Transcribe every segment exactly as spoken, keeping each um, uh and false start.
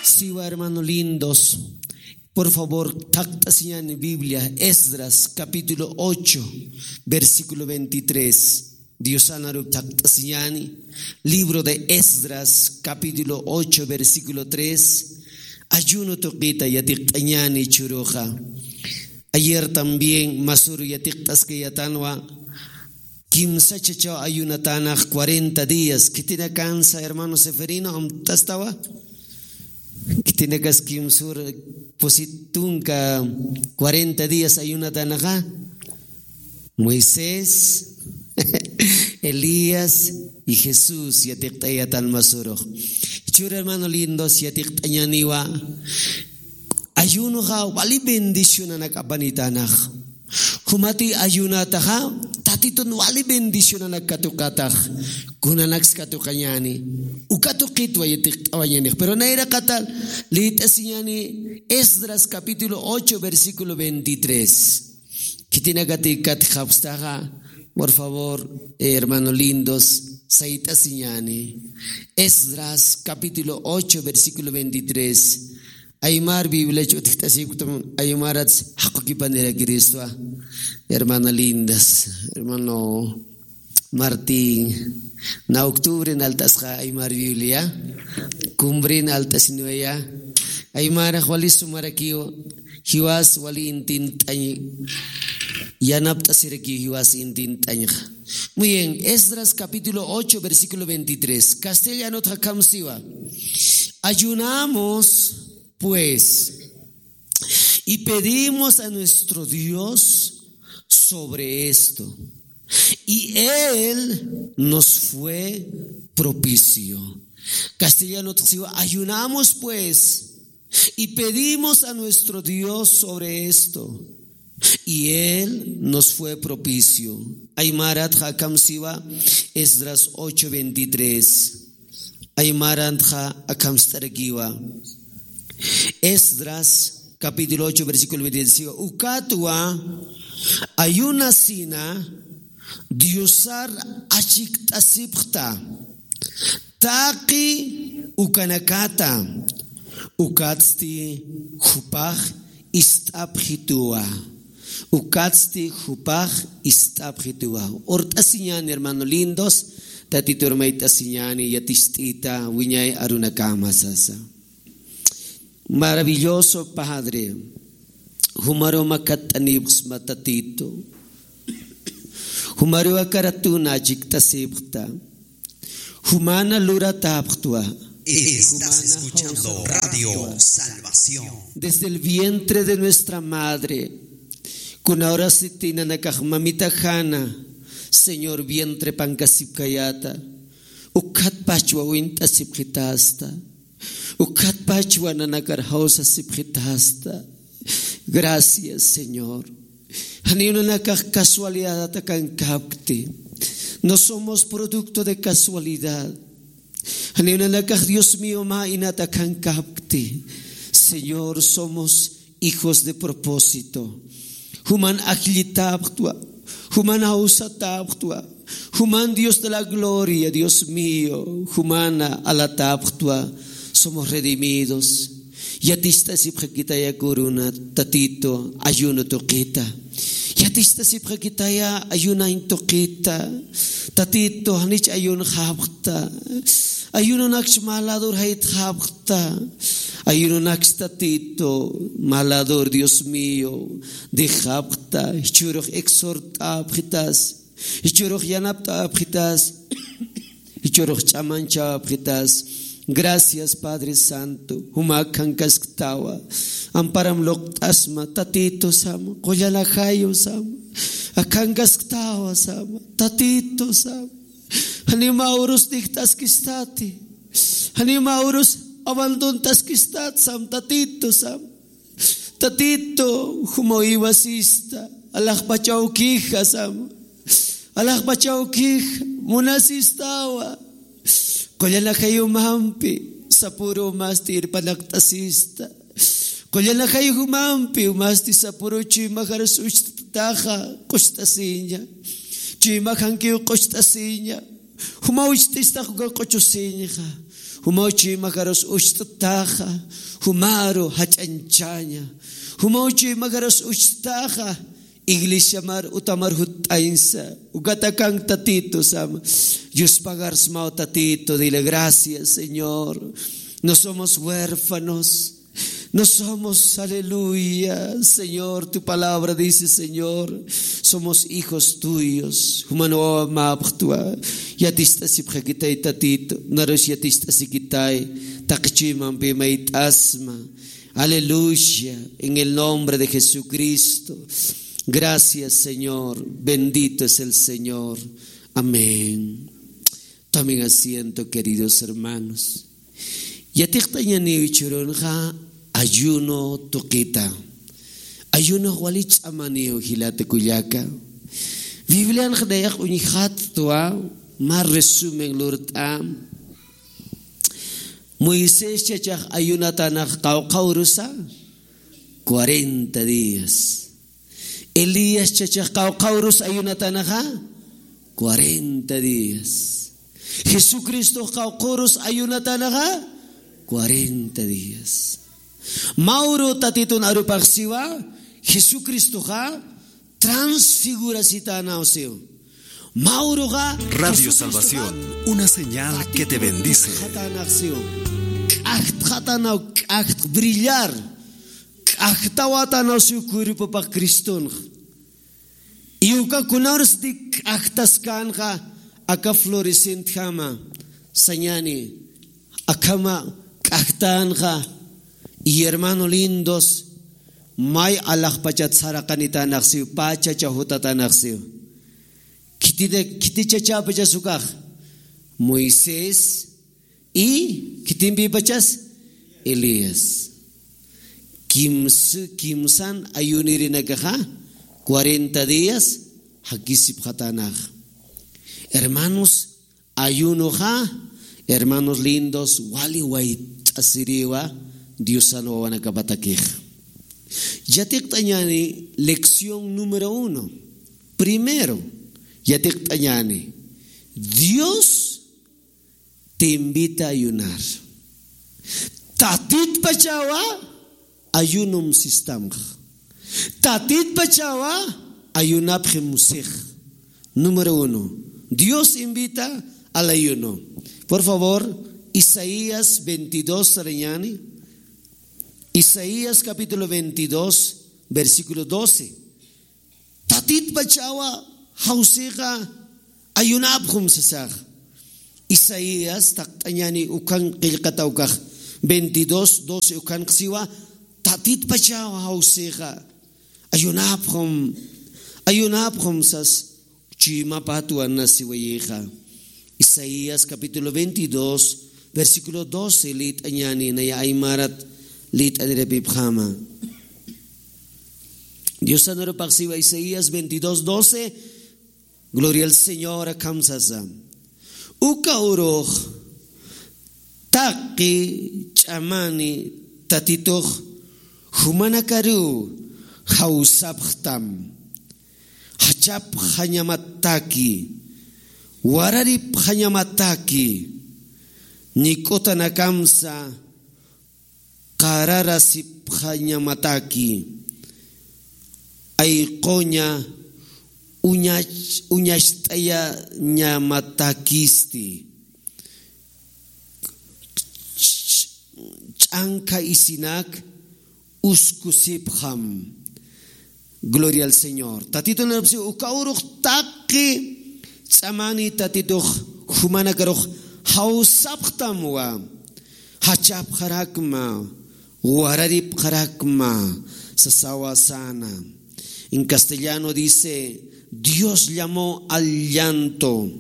Siwa, hermano lindos. Por favor, thaqt'asiñani Biblia, Esdras, capítulo ocho, versículo veintitrés. Diosanaru thaqt'asiñani. Libro de Esdras, capítulo ocho, versículo tres. Ayuno tuqita yatiqt'añani churuxa. Ayer también masuru yatiqt'askayatanwa. Kimsa chachaw ayunatanax cuarenta días. Khitinakansa, hermano Seferino, amtastawa? Khitinakas kimsur pusit tunka cuarenta días ayunatanaxa. Moisés, Elías y Jesús yatiqt'ayatan masurux. Chur hermano lindos, yatiqt'añaniwa. Ayunoxa wali bendicionanak apanitanax. Jumati ayunataxa, Tatitun wali bendicionanak katuqatax, kunanaks katuqañani. Uka tuqitwa yatiqt'awañanix. Pero nayraqatal liyt'asiñani Esdras capítulo ocho, versículo veintitrés. Khitinakati katjapstaxa, por favor, eh, hermano lindos, sayt'asiñani. Esdras capítulo ocho, versículo veintitrés. Aymar Biblia ch'utjt'asipktum, aymarats jaqukipanirakiristwa. Hermana lindas, hermano Martín, na octubre nalt'asqa aymar Biblia, cumbrin alt'asinwaya, aymarax wali sumarakiw, jiwas wali intint'añ, yanapt'asirakiw jiwas intint'añxa. Muy bien, Esdras capítulo ocho, versículo veintitrés. Castellanot jakamsiwa. Ayunamos, pues, y pedimos a nuestro Dios sobre esto. Y él nos fue propicio. Castellano, ayunamos pues y pedimos a nuestro Dios sobre esto. Y él nos fue propicio. Aymarat jakamsiwa, Esdras ocho veintitrés. Aymaranxa akamst'arakiwa. Esdras, capítulo ocho, versículo veintitrés. Ukatwa ayunasina Diosar achikt'asipxta. Taqi ukanakata. Ukatsti jupax ist'apxituwa. Ukatsti jupax ist'apxituwa. Urt'asiñan, hermano lindos, Tatitur mayt'asiñani yatist'ita wiñay arunakama sasa. Maravilloso Padre, jumaru makatt'anipxsma Tatito. Jumaru akaratuna achikt'asipxta. Jumana luratapxtwa. Estás escuchando Radio Salvación. Desde el vientre de nuestra madre, kuna urasiti nanakax mamita jana, Señor, vientre pankasipkayata, ukhatpachwa wint'asipxitasta, ukhatpachwa nanakar jawsasipxitasta. Gracias, Señor. Janiw nanakax casualidad akankapkti. No somos producto de casualidad. Janiw nanakax, Dios mío, mä inat akankapkti. Señor, somos hijos de propósito. Juman ajllitapxtwa, juman jawsatapxtwa, juman Dios de la gloria, Dios mío, jumana alatapxtwa, somos redimidos. Yaticht'asipxakitaya kuruna, Tatito, ayuno tuqita. Yaticht'asipxakitaya ayunañ tuqita. Tatito, janich ayunxapxta. Ayunonakch mä ladur jaytxapxta. Ayunonakch Tatito, mä ladur, Dios mío, dejapxta. Jichhürux exhort'apxitas. Jichhürux yanapt'apxitas. Jichhürux ch'amanchapxitas. Gracias, Padre Santo. Juma akhankasktawa. Amparam luqt'asma, Tatito sama. Qullanajayu sama. Akhankasktawa sama. Tatito sama. Janiw mä urus dejt'askistati. Janiw mä urus abandont'askistat sam, Tatito sam. Tatito, juma iwasista, alaxpach awkija sam. Alaxpach awkija, munasistawa. Qullana jayumampi, sapuru masti irpanaqt'asista. Qullana jayumampi, masti sapuru chuymajar sucht'taxa, q'ucht'asiña. Chuymajankiw q'ucht'asiña. Juma ucht'istax uka q'uchusiñxa. Jumaw chuymakarus ucht'taxa, jumaru jach'añchaña. Jumaw chuymakarus ucht'taxa, iglesiamar utamar jutt'añsa. Ukatakan Tatitu sama. Yuspagarsmaw Tatitu, dile gracias, Señor. No somos huérfanos. No somos, aleluya, Señor, tu palabra dice, Señor, somos hijos tuyos. Juman wawa mapxtwa, yatist'asipxakitay Tatitu, narus yatist'asikitay, taqi chuymampi mayt'asma. Aleluya, en el nombre de Jesucristo. Gracias, Señor, bendito es el Señor. Amén. Tomen asiento, queridos hermanos. Yatiqt'añaniw jichhürunxa ayuno tuqita. Ayunox wali ch'amaniw jilata kullaka. Biblianx nayax uñjatwa, mä resumen lurt'a. Moisés chachax ayunatanax qawqha urusa, cuarenta días. Elías chachax qawqha urus ayunatanaxa, cuarenta días. Jesucristox qawqha urus ayunatanaxa, cuarenta días. Mä uru Tatitun arupax siwa, Jesucristoxa transfigurasitänaw siw. Mä uruxa, Radio Jesucristoxa Salvación, una señal que te bendice. K'axtxatänaw siw. K'axtxatänaw, k'axt brillar. K'axtawatanaw siw cuerpopax Cristonx. Y uka kunawrasti k'axtaskänxa aka florescentjama sañani, akhama k'axtänxa, y hermano lindos, may alaxpachat saraqanitänaxsiw, pä chacha jutatänaxsiw. Khitita, khiti chachäpachas ukax, Moisés, y khitimpïpachas Elías. Kims-, kimsan ayunirinakaxa, cuarenta días jakisipxatänax. Hermanos, ayunoxa, hermanos lindos, wali wayt'asiriwa Diosan wawanakapatakixa. Yatiqt'añäni lección número uno. Primero, yatiqt'añäni. Dios te invita a ayunar. Tatitpachawa ayunom sistamx. Tatitpachawa ayunapxim six. Número uno, Dios invita al ayuno. Por favor, Isaías veintidós sarañäni. Isaías capítulo veintidós, versículo doce. Tatitpachawa jawsixa ayunapxum sasax. Isaías taqt'añäni ukhan qillqata ukax veintidós doce ukhanx siwa, Tatitpachawa jawsixa ayunapxum, ayunapxum sas chuymapatwa nasiwayixa. Isaías capítulo veintidós, versículo doce, liyt'añäni, naya aymarat liyt'anirapipxama. Diosan arupax siwa Isaías veintidós doce, gloria al Señor, akham sasa. Uka urux taqi ch'amani Tatitux jumanakaruw jawsapxtam. Jachapxañamataki, wararipxañamataki, ñik'utanakamsa qararasipxañamataki, ayquña uñach-, uñacht'ayañamatakisti. Ch-, ch-, ch'ankha isinak uskusipxam. Gloria al Señor. Tatitun arupax siwa, uka urux taqi ch'amani Tatitux jumanakarux jawsapxtamwa, jachapxarakma, wararipxarakma, sasawa sana. En castellano dice, Dios llamó al llanto.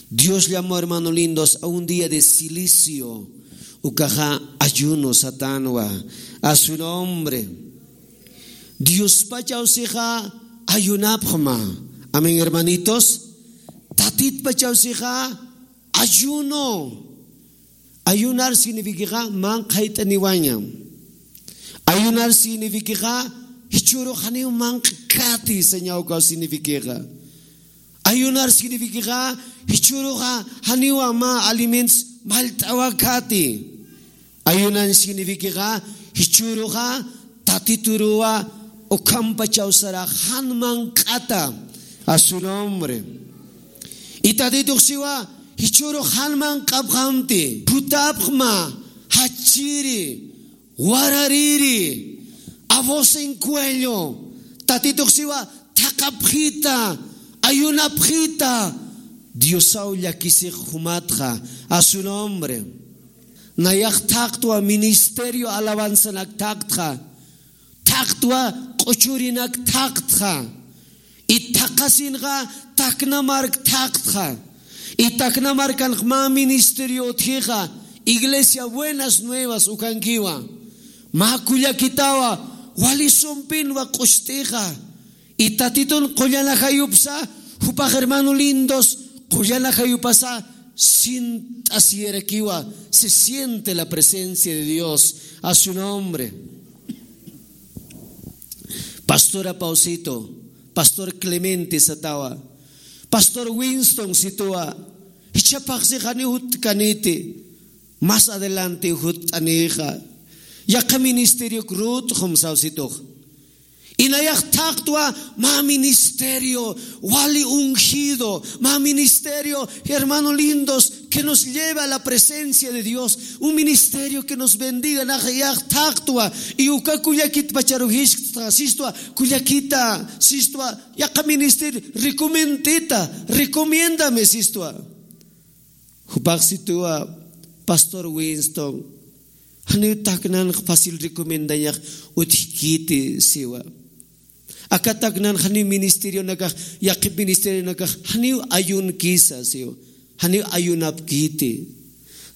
Dios llamó, hermano lindos, a un día de cilicio. Ukaxa ayuno satanwa. A su nombre. Diospachaw sixa ayunapxma. Amén, hermanitos. Tatitpachaw sixa ayuno. Ayunar signifikixa manqhayt'aniwaña. Ayunar signifikixa jichhürux janiw manq'kati sañaw ukaw signifikixa. Ayunar signifikixa, jichhüruxa janiwa mä alimentos mallt'awakati. Ayunan signifikixa, jichhüruxa Tatituruwa ukhampachaw sarax jan manq'ata. A su nombre. Y Tatitux siwa, jichhürux jan manq'apxamti, phutapxma, jachiri, warariri, a voz en cuello. Tatitux siwa, thaqhapxita, ayunapxita, Diosaw llakisix jumatxa, a su nombre. Nayax thaqtwa ministerio alabanzanak thaqtxa, thaqtwa q'uchurinak thaqtxa, y thaqhasinxa takna mark thaqtxa, y takna markanx mä ministerio utjixa, iglesia Buenas Nuevas ukankiwa, mä kullakitawa, wali sumpinwa q'ucht'ixa, y Tatitun qullan ajayupsa, jupax hermano lindos, qullan ajayupasa, sint'asiyarakiwa, se siente la presencia de Dios, a su nombre. Pastora Pausito, Pastor Clemente satawa, Pastor Winston situwa, jichhapaxsi janiw jutkaniti, más adelante jutt'anixa, yaqha ministerio krut jumsaw situx. Y nayax thaqtwa mä ministerio, wali ungido, mä ministerio, hermano lindos, que nos lleva a la presencia de Dios, un ministerio que nos bendiga, nayax thaqtwa, y uka kullakit pacharu jisktxa, sistwa, kullakita, sistwa, yaqha ministerio, recomendita, recomiéndame, sistwa. Jupax situwa Pastor Winston, janiw taknanx fácil recomendañax utjkiti siwa. Aka taknan janiw ministerionakax, yaqhip ministerionakax, janiw ayunkisa siwa. Janiw ayunapkiti.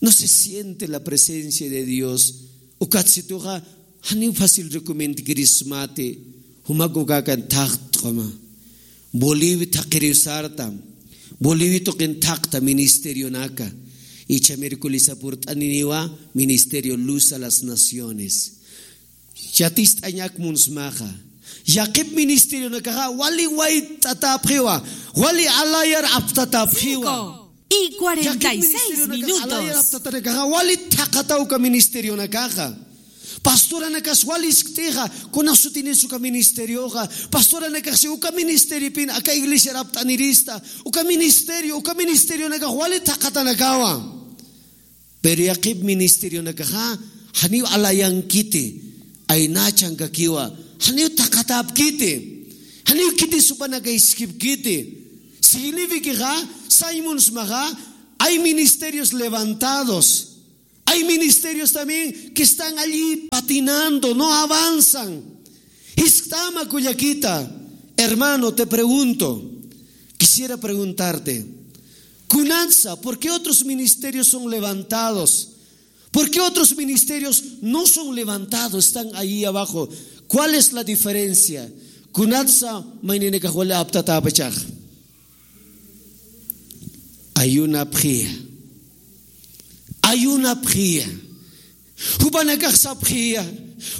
No se siente la presencia de Dios. Ukat situxa, janiw fácil recomendakirismati, jumak ukakan thaqtxama. Bolivia thaqiriw sarta, Bolivia tuqin thaqta ministerionaka. Icha miércolesa purt'aniniwa ministerio Luz a las Naciones. Yatist'añak munsmaxa. Yaqhip ministerionakaxa wali wayt'atäpxiwa, wali alayar aptatäpxiwa. Cinco y cuarenta y seis minutos. Alayar aptatanakaxa wali thaqhata uka ministerionakaxa. Pastoranakas wali iskt'ixa, kuna sutinis uka ministerioxa. Pastoranakaxsi uka ministeriopin aka iglesiar apt'anirista. Uka ministerio, uka ministerionakax wali thaqhatanakawa. Pero yaqhip ministerionakaxa, janiw alayankiti, aynachankakiwa, janiw thaqhatäpkiti, janiw khitis jupanaka iskipkiti. Signifikixa, sañ munsmaxa, hay ministerios levantados, hay ministerios también que están allí patinando, no avanzan. Jisktama kullakita, hermano, te pregunto, quisiera preguntarte, kunatsa, ¿por qué otros ministerios son levantados? ¿Por qué otros ministerios no son levantados, están ahí abajo? ¿Cuál es la diferencia? Kunatsa, mayninakax wali aptatäpachax. Ayunapxiya. Ayunapxiya. Jupanakax sapxiya.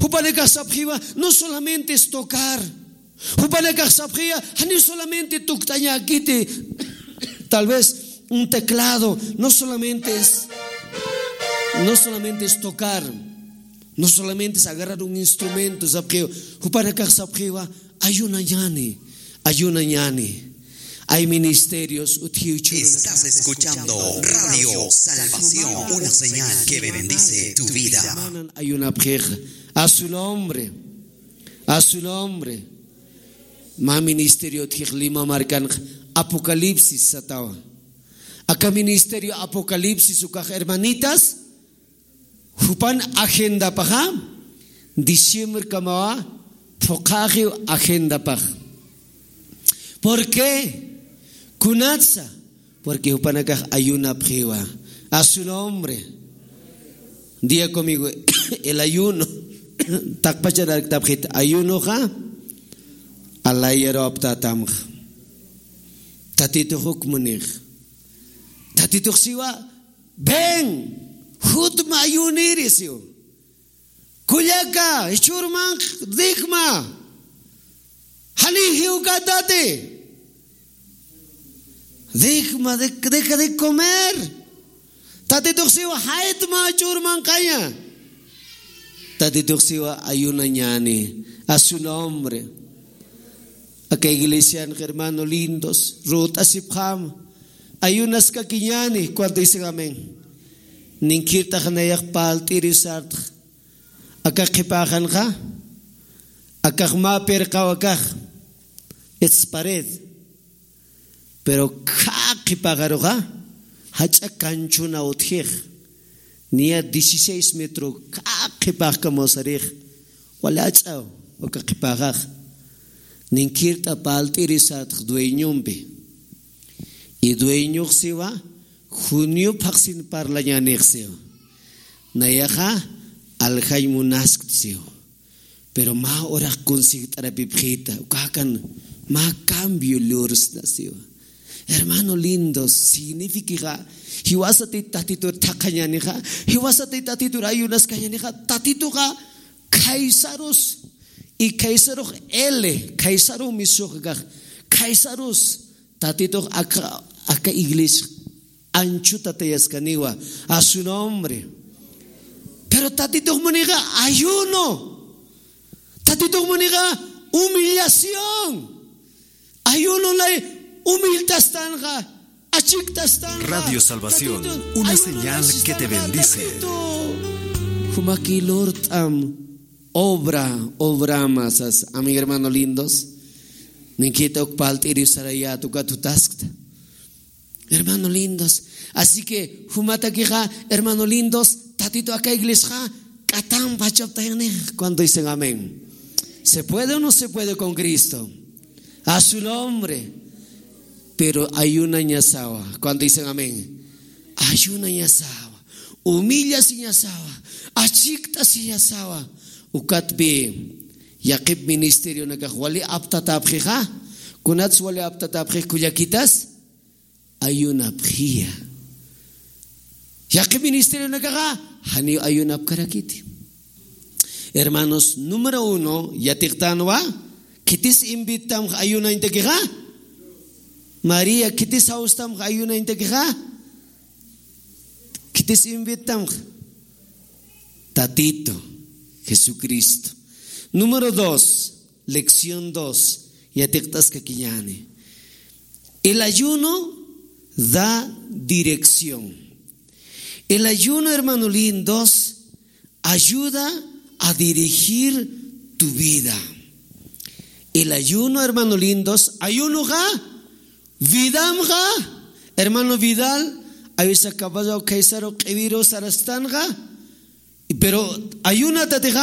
Jupanakax sapxiwa, no solamente es tocar. Jupanakax sapxiya, janiw solamente tukt'añäkiti. Tal vez un teclado, no solamente es, no solamente es tocar, no solamente es agarrar un instrumento, sapxiwa. Jupanakax sapxiwa, ayunañäni, ayunañäni. Hay ministerios utjiw churunakax. Estás escuchando Radio Salvación, una señal que bendice tu vida. Ayunapxix, a su nombre, a su nombre. Mä ministerio utjix Lima markanx Apocalipsis satawa. Aka ministerio Apocalipsis ukax hermanitas, jupan agendapaxa, diciembre kamawa, phuqhaxiw agendapax. ¿Por qué? Kunatsa, porque jupanakax ayunapxiwa. A su nombre. Diga conmigo, el ayuno. Taqpachan arkt'apxit, ayunoxa, alayaru aptatamxa. Tatitux uk munix. Tatitux siwa, ven, jutma ayuniri siw. Kullaka, jichhür manq't'ikma. Janiw jiwkatati. Deja de, deja de comer. Tatitux siwa jaytma ch'urmanqaña. Tatitux siwa ayunañäni. A su nombre. Aka iglesianx hermano lindos, rut'asipxam. Ayunaskakiñäni, cuando dicen amén. Ninkirt'ax nayax palt'iri sartx. Akax qhipäxanxa. Akax mä pirqaw akax. Its pared. Pero khä qhipäxaruxa, jach'a kanchuna utjix. Niya dieciséis metro khä qhipäxkam usarix. Wali ach'aw, aka qhipäxax. Ninkirt'a palt'iri sartx dueñompi. Y dueñox siwa, junio phaxsin parlañänix siwa. Nayaxa, aljañ munaskt siwa. Pero mä urax consigt'arapipxita, ukakan mä cambio lursna siwa. Hermano lindo, signifikixa, jiwasati tatitur thaqhañänixa, jiwasati tatitur ayunaskañänixa, tatituxa khaysarus, y khaysarux ele, khaysaru misuxkax, khaysarus, tatitux aka, aka iglesia, anchuta tayaskaniwa, a su nombre. Pero tatitux munixa ayuno. Tatitux munixa humillación. Ayuno lay humilltastanxa, achiktastanxa. Radio Salvación, una señal que te bendice. Jumaki lurt'am obra, obrama sas, ami hermano lindos. Ninkita uk palt'iri sarayat ukat jutaskta. Hermano lindos. Así que, jumatakixa, hermano lindos, tatito aka iglesiaxa, k'atam pachaptayanix, cuando dicen amén. ¿Se puede o no se puede con Cristo? A su nombre. Pero ayunañasawa, cuando dicen amén. Ayunañasawa, humillasiñasawa, achikt'asiñasawa. Ukatpi, yaqhip ministerionakax wali aptatäpxixa, kunats wali aptatäpxix kullakitas, ayunapxiya. Yaqhip ministerionakaxa, janiw ayunapkarakiti. Hermanos, número uno, yatiqtanwa, khitis invitamx ayunañtakixa? María, khitis jawstamx ayunañtakixa? Khitis invitamx? Tatito, Jesucristo. Número dos, lección dos, yatiqt'askakiñäni. El ayuno da dirección. El ayuno, hermano lindos, ayuda a dirigir tu vida. El ayuno, hermano lindos, ayunoxa, vidamxa, hermano Vidal, a veces capaz kaysaru q'iwiru sarastanxa, pero ayunatatixa,